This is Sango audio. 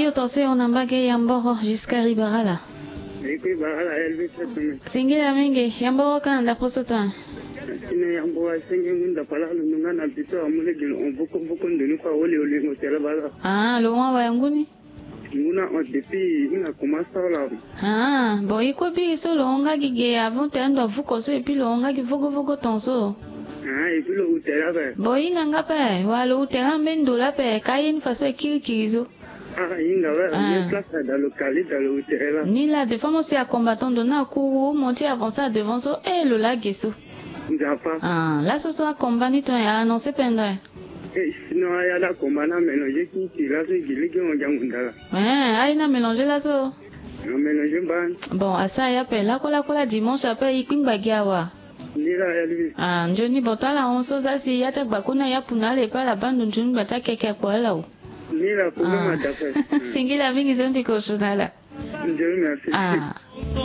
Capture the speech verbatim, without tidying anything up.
Yo tonso yo na mbage ya mboro jusqu'à Ribarala. Eko Ribarala, Elvis Sesame. Singila mingi, ya mboro ka na ndapre so to a? Tine ya mboro asenge ngu ndapre ala lo nunga na bito amu lege lo hon voko voko ndoni kua wole olingo tele bala. Ah, lo hon awa ya ngu ni? Ngu na hon depuis hinga commence sara la. Ah, bon, i kue biri so lo hon nga gi ge avant tene ndo avuko so, et puis lo hon nga gi vogo vogo tonso. Ah, et puis lo hu tere ape. Bon, hinga nga ape, wala lo hu tere ambeni ndo la ape, ka ye ni faso e kiri kiri so. Ah, hinga we, ah, ye place da lo kali da lo hu tere la. Ni la, des fois mo si acombattant ndo na akuru, mo ti avancer à devant so, eh, lo laa ge so. Nzapa. Ah, laso so acombat ni ton ya annoncer pendere. Eh, sinon, aya la combat na mélanger ti ti laso gi lege on jangu ndala. Eh, aye na mélanger laso. Na mélanger mban. Bon, asara ya ape, lako lako la dimanche ape, i kpingba gi awa. Ni la ya libi. Ah, nzoni bon, tala hon so za si ya ti agbaku na ya puna ala e pe ala baa ndo nzoni gba ti akeke akpo ala o. Ni la problème. Ah, ada ape. Singila mingi so ndiko so na ala. Nzoni merci. Ah.